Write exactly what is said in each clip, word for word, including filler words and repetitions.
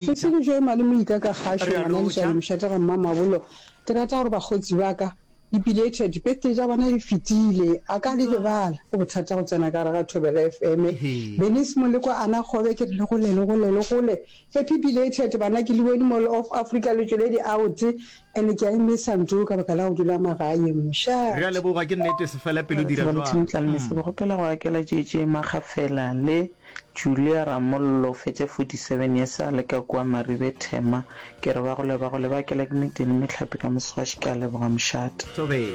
Tshedimošo e malome ika ka kgašo Re a ngwana lotšha. Lešale mošate ga Mmamabolo. Ke rata gore bakgotsi ba ka di belated birthday tša bona di fetile a ka di lebala. Go bothata go tsena ka gare ga Thobela F M. Hee. Bernice Molekwa Ana Kgobe ke re le gole le gole le gole. Happy belated bana ke le bone Mall of Africa le tšwele di out and ke a e missa ntho ka baka la go dula magaeng mošate. Re a leboga ke nnete se fele pelo Re dira tseba jwalo. Lethabo Tlalmese ke kgopela go akela J J Makgafela le Julia Ramollo o fetša forty seven years a le ka kua Maribe Thema ke re ba gole ba gole ba akela ke meteng le mehlape ka moswaši ke a leboga mošate. Thobela.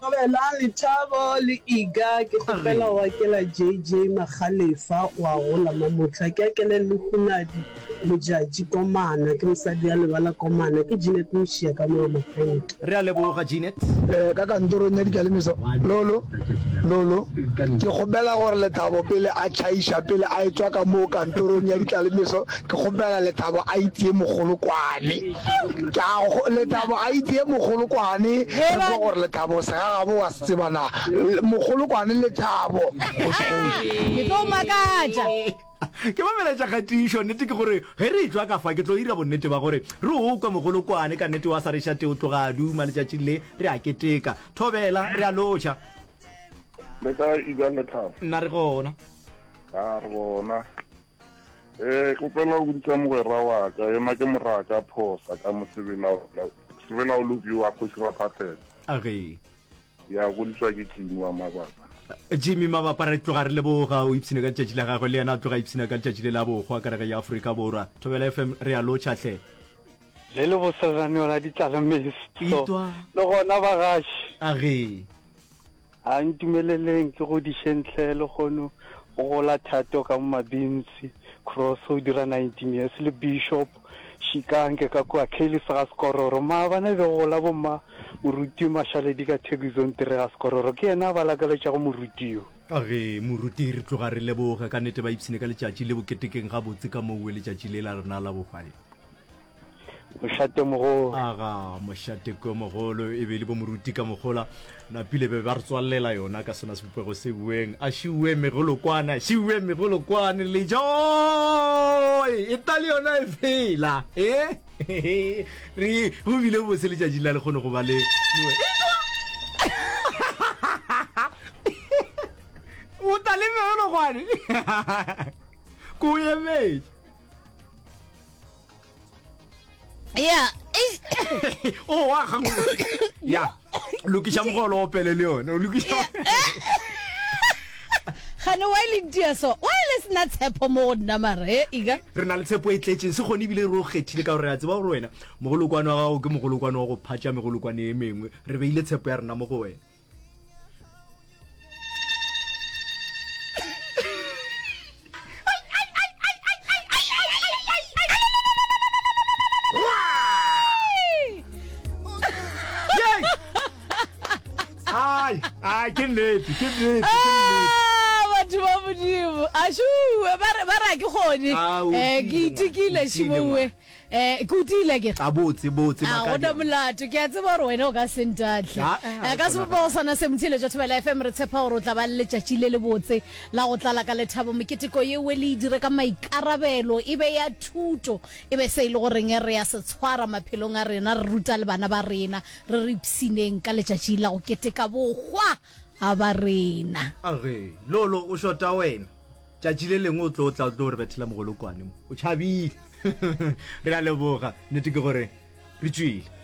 Thobela, Lethabo le Iga ke kgopela go akela J J Makgalefa wa gola Mamotla ke akele le Hunadi Modjadji Komana ke mosadi ya lebala Komana ke Jeanette Mošia ka mo Mafente. Re a leboga Jeanette. Eh, ka kantorong ya dikalimiso. Lolo, Lolo, ke kgopela gore Lethabo pele a tšhaiša, pele a etšwa ka moo kantorong ya ditlalemeso, ke kgopela Lethabo a itie mogolokwane. Ke a go, Lethabo a itie mogolokwane, re kwe gore Lethabo segagabo wa se tseba na. Mogolokwane Lethabo, kgoši kgoši. Ke tlo makatša. Ke ba meletša kgatišo. Nnete ke gore ge re etšwa ka fa ke tlo ira bonnete ba gore re o kwe mogolokwane ka nnete wa sa re šate o tloga a duma letšatšing le re a keteka. Thobela, re a lotšha. Le kae Igan Lethabo? Nna re gona. A re gona. Eh, kgopela go bitša mogwera wa ka, yena ke moraka phosa ka mosebela sebela o loki wa kgoši Raphahlele. A ge. Ya godiswa ke Jimmy wa Mabapa. Jimmy Mabapa re tloga re leboga o ipshine ka letšatši la gagwe le yena a tloga ipshina ka letšatši le la bohwa ka rege ya Afrika Borwa. Thobela F M re a lotšha hle. Le le bose lenaneo la ditlalemeso. Itwa. Le gona bagaši. A ge. A ntumeleleng ke godišeng hle lehono go gola Thato ka mo Mabintsi Cross o dira nineteen years le Bishop Shikange ka kua Kelly's ga Sekororo. Maabane be go gola bomma Moruti Mashaledi ka Thekizong three ga Sekororo ke yena a ba lakaletšago moruti yo. A ge moruti re tloga re leboga ka nnete ba ipshine ka letšatši le boketekeng gabotse ka mowe letšatši le la rena la bohwa le. Mošate mogolo. Aga, mošate ko mogolo e be e le bo moruti ka mogola napile be ba re tswalela yona ka sona sebopego se bueng a šiwe megolokwane a šiwe megolokwane le joy e ta le yona e fela e re go bile bose letšatši la le kgone go ba le o ta le megolokwane ko emetše ya o wa ga ya lokiša mogolo o pele le yone o lokiša gane wa le ntia so wa le sena tshepo mo go nna mara e ika re na le tshepo e tletseng se kgone ebile re o kgethile ka gore re a tseba gore wena mogolokwane wa gago ke mogolokwane wa go phatša megolokwane e mengwe re beile tshepo ya rena mo go wena. Ai, ai, ke nnete, ke nnete, ke nnete. Ah, batho ba modimo ašuwe ba re ba re a ke kgone Ah, o um ke tiile, itekile o tiile, šimowe um ke o tiile ke A botse, botse, A go na Makadia. molato, ke a tseba gore wena o ka se ntahle. Ah, eh, Eh, a Ka go sebopego sona se, motheeletši wa Thobela F M, re tshepa gore o tla ba le letšatši le lebotse la go tlala ka lethabo. Meketeko yeo le e dire ka maikarabelo, e be ya thuto, e be se e le goreng re a se tshwara maphelong a rena, re ruta le bana ba rena, re re ipshineng ka letšatši la go keteka bohwa ga ba rena. Age, Lolo, o šota wena. Tšatši le lengwe o tlo tla o tlo re bethela mogolokwane mo. O tšhabile. Re a leboga. Nnete ke gore re tšwile.